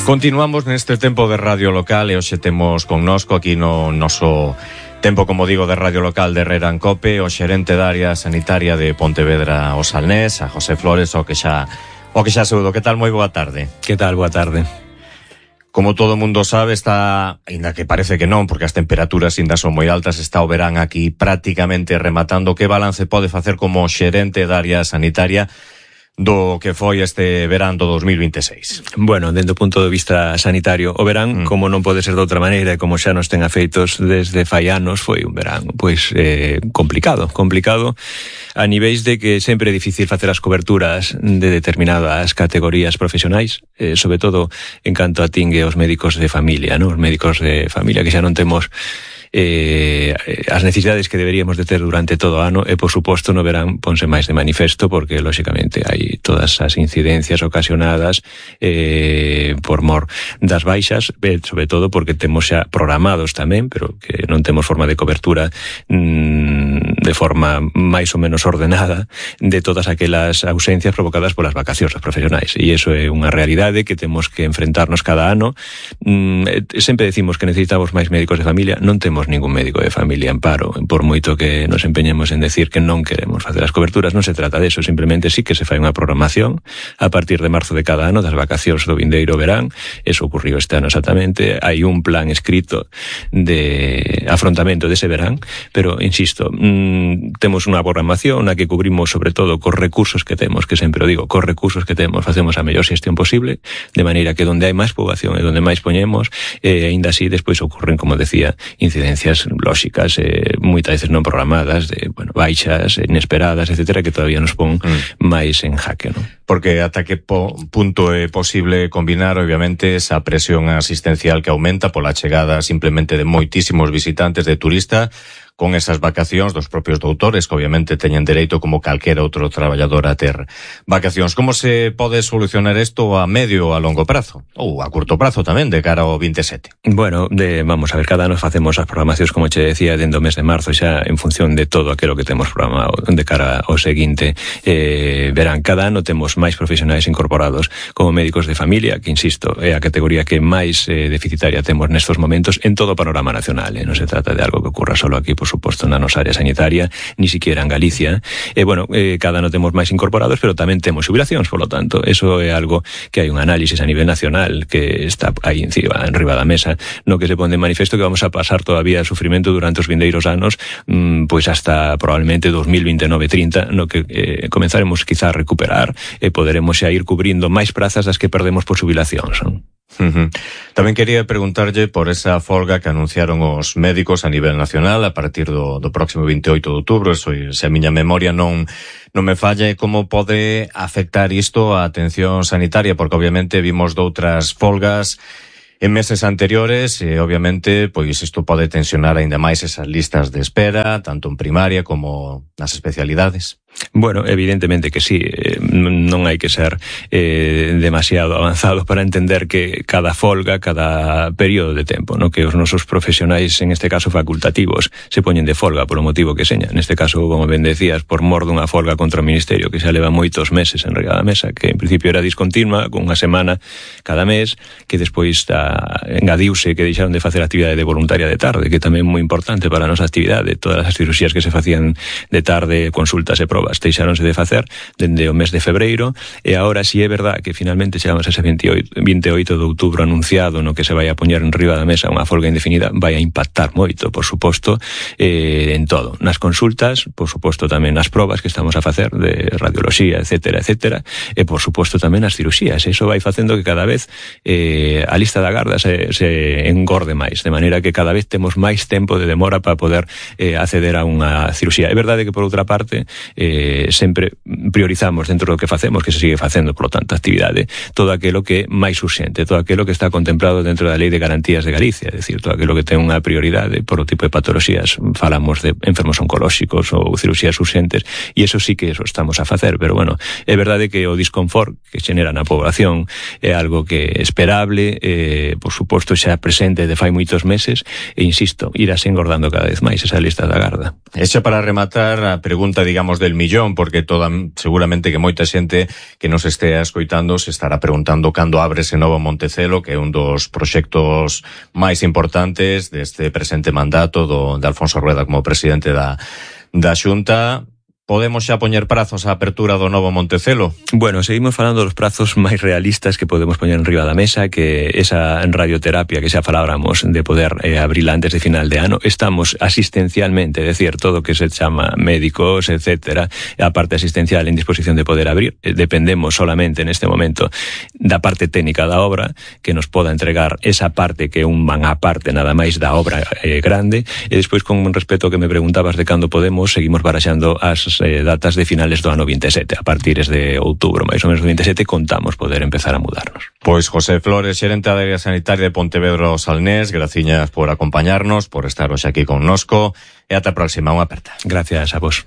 Continuamos neste tempo de Radio Local e hoxe temos connosco aquí no noso tempo, como digo, de Radio Local de Herrera en Cope, o xerente da área sanitaria de Pontevedra o Salnés, a José Flores, o que xa saúdo. Que tal? Moi boa tarde. Que tal? Boa tarde. Como todo mundo sabe, está, ainda que parece que non, porque as temperaturas ainda son moi altas, está o verán aquí prácticamente rematando. Que balance pode facer como xerente da área sanitaria do que foi este verán do 2026? Bueno, dentro do punto de vista sanitario, o verán, como non pode ser de outra maneira, e como xa nos ten afeitos desde fai anos, foi un verán, pois, complicado a niveis de que sempre é difícil facer as coberturas de determinadas categorías profesionais, sobre todo en canto atingue os médicos de familia, ¿no? Os médicos de familia que xa non temos as necesidades que deberíamos de ter durante todo o ano, e por suposto no verán ponse máis de manifesto, porque lóxicamente hai todas as incidencias ocasionadas por mor das baixas, sobre todo porque temos xa programados tamén, pero que non temos forma de cobertura de forma máis ou menos ordenada de todas aquelas ausencias provocadas polas vacacións dos profesionais, e iso é unha realidade que temos que enfrentarnos cada ano. Sempre decimos que necesitamos máis médicos de familia, non temos ningún médico de familia en paro, por moito que nos empeñemos en decir que non queremos facer as coberturas. Non se trata de eso, simplemente sí que se fai unha programación a partir de marzo de cada ano das vacacións do vindeiro verán. Eso ocurriu este ano exactamente, hai un plan escrito de afrontamento dese verán, pero insisto, temos unha programación na que cubrimos sobre todo cos recursos que temos, que sempre o digo, cos recursos que temos facemos a mellor xestión posible, de maneira que donde hai máis poboación e donde máis poñemos, aínda así despois ocurren, como decía, incidencias lóxicas, moitas veces non programadas, de baixas inesperadas, etcétera, que todavía nos pon máis en jaque, non? Porque ata que punto é posible combinar, obviamente, esa presión asistencial que aumenta pola chegada simplemente de moitísimos visitantes de turista, con esas vacacións dos propios doutores, que obviamente teñen dereito como calquera outro traballador a ter vacacións. Como se pode solucionar isto a medio ou a longo prazo? Ou a curto prazo tamén, de cara ao 27? Bueno, vamos a ver, cada ano facemos as programacións, como che decía, dentro do mes de marzo, xa en función de todo aquilo que temos programado de cara ao seguinte verán. Cada ano temos máis profesionais incorporados como médicos de familia, que, insisto, é a categoría que máis deficitaria temos nestos momentos en todo o panorama nacional. Non se trata de algo que ocurra solo aquí, por suposto, na nosa área sanitaria, ni siquiera en Galicia. Cada ano temos máis incorporados, pero tamén temos xubilacións, polo tanto, eso é algo que hai un análisis a nivel nacional que está aí enriba da mesa, no que se pone en manifesto que vamos a pasar todavía sufrimento durante os vindeiros anos, pois hasta probablemente 2029-30, no que comenzaremos quizá a recuperar e poderemos xa ir cubrindo máis prazas das que perdemos por xubilacións. Tamén quería preguntarlle por esa folga que anunciaron os médicos a nivel nacional a partir do próximo 28 de outubro. Se a miña memoria non me falla, como pode afectar isto á atención sanitaria, porque obviamente vimos doutras folgas en meses anteriores e obviamente pois isto pode tensionar aínda máis esas listas de espera, tanto en primaria como nas especialidades. Bueno, evidentemente que sí, non hai que ser demasiado avanzado para entender que cada folga, cada período de tempo, ¿no? Que os nosos profesionais, en este caso facultativos, se poñen de folga polo motivo que seña. Neste caso, como ben decías, por mor dunha folga contra o Ministerio que xa leva moitos meses en regada mesa, que en principio era discontinua, con unha semana cada mes, que despois engadiuse que deixaron de facer actividade de voluntaria de tarde, que tamén é moi importante para a nosa actividade. Todas as cirurxías que se facían de tarde, consultas e probas, deixáronse de facer dende o mes de febreiro, e agora si é verdad que finalmente chegamos a ese 28 de outubro anunciado, no que se vai a poñer en riba da mesa unha folga indefinida, vai a impactar moito, por suposto, en todo, nas consultas, por suposto tamén nas probas que estamos a facer de radioloxía, etcétera, e por suposto tamén nas cirurxías. Eso vai facendo que cada vez a lista da garda se engorde máis, de maneira que cada vez temos máis tempo de demora para poder acceder a unha cirurxía. É verdade que, por outra parte, sempre priorizamos dentro do que facemos, que se sigue facendo, por lo tanto, actividade, todo aquilo que é máis urxente, todo aquilo que está contemplado dentro da Lei de Garantías de Galicia, é dicir, todo aquilo que ten unha prioridade por o tipo de patoloxías. Falamos de enfermos oncolóxicos ou cirurxías urxentes, e eso sí que eso estamos a facer, pero bueno, é verdade que o disconfort que xenera na población é algo que é esperable, por suposto xa presente de fai moitos meses, e insisto, irase engordando cada vez máis esa lista da garda. Exa para rematar a pregunta, digamos, del millón, porque seguramente que moita xente que nos estea escoitando se estará preguntando cando abre ese novo Montecelo, que é un dos proxectos máis importantes deste presente mandato de Alfonso Rueda como presidente da Xunta. Podemos xa poñer prazos á apertura do novo Montecelo? Bueno, seguimos falando dos prazos máis realistas que podemos poñer enriba da mesa, que esa radioterapia que xa faláramos de poder abrila antes de final de ano. Estamos asistencialmente, é dicir, todo o que se chama médicos, etcétera, a parte asistencial en disposición de poder abrir. Dependemos solamente neste momento da parte técnica da obra, que nos poda entregar esa parte que un van á parte nada máis da obra grande, e despois con respecto ao que me preguntabas de cando podemos, seguimos baraxando as datas de finales do ano 27. A partir de outubro, máis ou menos do 27, contamos poder empezar a mudarnos. Pois José Flores, xerente da área sanitaria de Pontevedra Salnés, graciñas por acompañarnos, por estar hoxe aquí connosco, e ata a próxima, unha aperta. Gracias a vos.